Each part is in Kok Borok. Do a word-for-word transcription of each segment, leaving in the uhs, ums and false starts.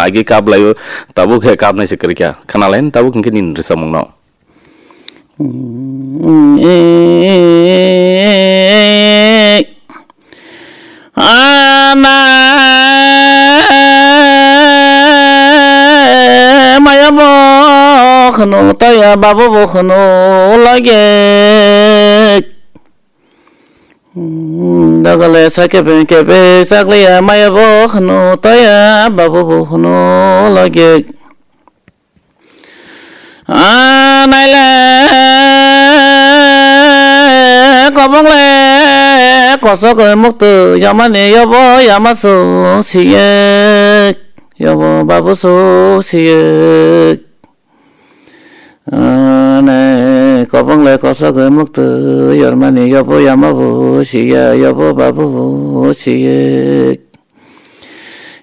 agi kap laio, tabuk khe kapnai se kwrwi kha. Khna lai tabuk hwnkhe nini rwchapmung no. Ana maya bo khunu taya babu bo khunu lage. Dagale sa kebe kebe sakliya maya bo khunu taya babu bo khunu lage. Ah, naile kobongle kosok muktu yamani yobo yamasu siyek yobo babusu siyek. Ah, nai kobongle kosok muktu yormani yobo yamabu siya yobo babubu siyek.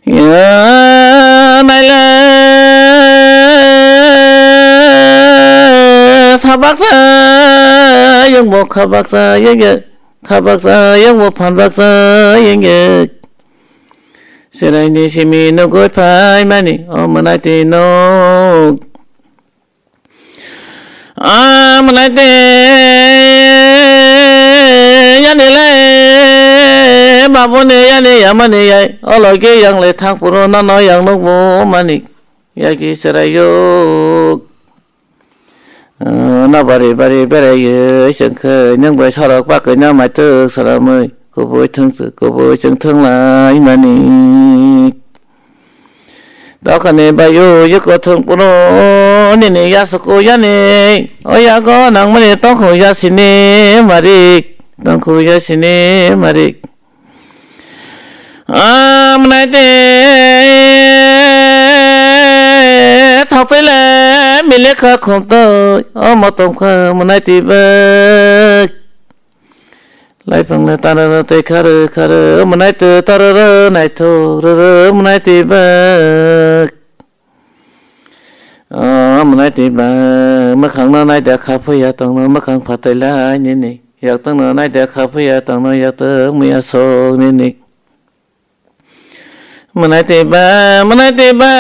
Ya, naile sabaksa yongbo khabaksa yongye khabaksa yongbo phanbaksa yongye. Seraini simi nugui phaimani o mwnai twi nuk. Amwnai de yani le babuni yani yamani yai ologi yang le thang puro nono yang nukbo mani yagi chwraiyuk. Na bari bari beraiyui chwngkhai nwng bai sorok bagwi na maituk swramwi kubui thwngchwk kubui chwng thwnglaimani. Dokhani bayu yuko thwng puro nini yasuku yani. O yago nangmani tongkhu yasini marik, tongkhu yasini marik. Amnai te thoktoile milekha khumtoi, omo tongkha mwnai tibak. Laiphangle tarara tei kharwi kharwi mwnai twi tarara naithok rwrwi mwnai twi bak. O mwnai twi bak mwkhangno naida kha phiya tongno mwkhang phatwi lai nini. Yaktwngno naida kha phiya tongno yaktwng muya sok nini. Mwnai twi ba, mwnai twi ba,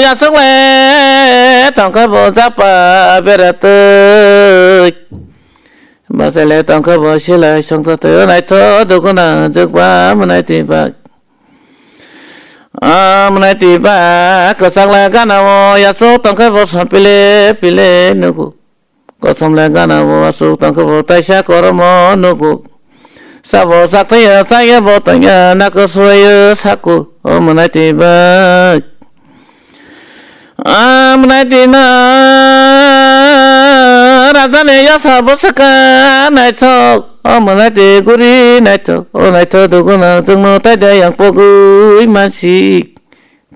yasok le tongkha bo japa beratwi. Bachai le tongkha bo silai songtha twi naitho dukuna jwkba mwnai twi ba. Ah, mwnai twi ba, kwchak le gana o yasok tongkha bo som pile pile nugo. Kosom le gana bo aswk tongkha bo taisa koromo nugo. Sabo sakthaya chaya bo tongya nako suayo sako o mwnai twi bak. A mwnai twi na raja ni yasa bo saka naithok o mwnai twi guri naithok o naithok duguna chwngno taida yang pogwi mansik.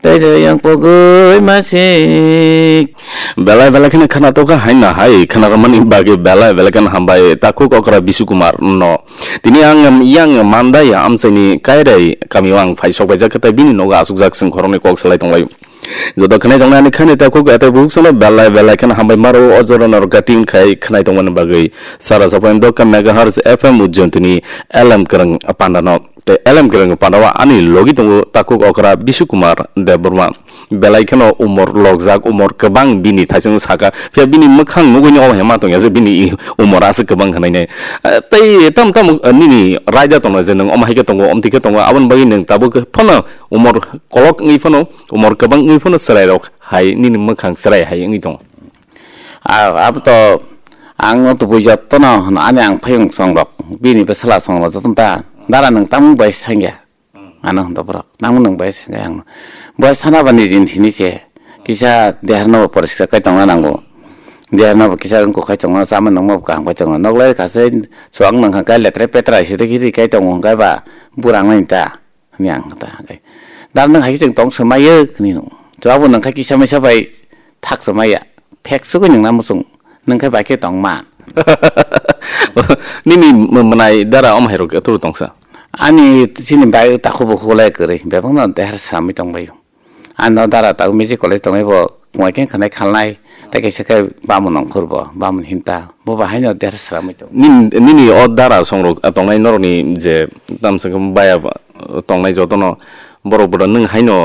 Tei de yang pogwi masik. Belai belai kheno khana tokha haino hai khana romani bagwi belai belai kheno hambai takhuk okra Bisu Kumar no. Tini ang yang mandai amchaini kairai kami o ang phai sok baijak khe tei bini nogo asukjak sing khoroknwi kok salai tonglaio. Joto khnai tongnai ani khani takhuk tei bukhuk sono belai belai kheno hambai maro o jora no recording khai khnai tongmani bagwi sara sapoin dokka megahertz F M Ujjontini L M Kwrwng panda no. Tei L M Kwrwng pandao ani logi tongo takhuk okra Bisu Kumar Debbarma. Belai kheno umor lokjak, umor kwbang bini thaichung saka. Phiya bini mwkhang nugwi ni omo hema tongya je bini umor aswk kwbang hwnwi nai. Eh, tei tam tam, eh, nini raida tongo je nwng omo hai khe tongo, omtwi khe tongo, aboni bagwi nwng tabuk phano umor kolok wngwi phano, umor kwbang wngwi phano chwrai rok hai nini mwkhang chwrai hai wngwi tongo. A, abo to ang o tubui jotono hwno ani ang phayung song rok bini bwsala song rok jotono ta dara nwng tamung bai sangya. Ano hwndo borok tamung nwng bai sangya ang. Bai sana ba nijin thini se kisa deharno bo poriskar kai tongna nango. Deharno bo kisa wngkok kai tongna chama nangma bo kaham kai tongna. Noklai kha se chuang nang kha kai letre petra se de kiri kai tongo hwnkhe ba burang nai ta. Hwnwi ang ta khe, dar nwng hai khe chwng tong swmai o hwnwi nung. Chuabo nwng khe kisa misa bai thak swmai ya. Phek sugwi nwng na muchung. Nwng khe bai khe tong man. Nini m-, mwnai dara omo hai rok turu tongsa? Ani chini bai takhuk bukhuk lai kwrwi. Bebak no dehar sramwi tong bai o. Ano dara ta music college tongwi bo. Kuai khe khwnai khalnai, tei kaisa khe bamon nongkhor bo, bamon hinta, bo ba haino der sramwi tongo. Nin-, nini o dara songrok tongnai norokni je tamsa khe baya ba tongnai jotono borok boda nwng haino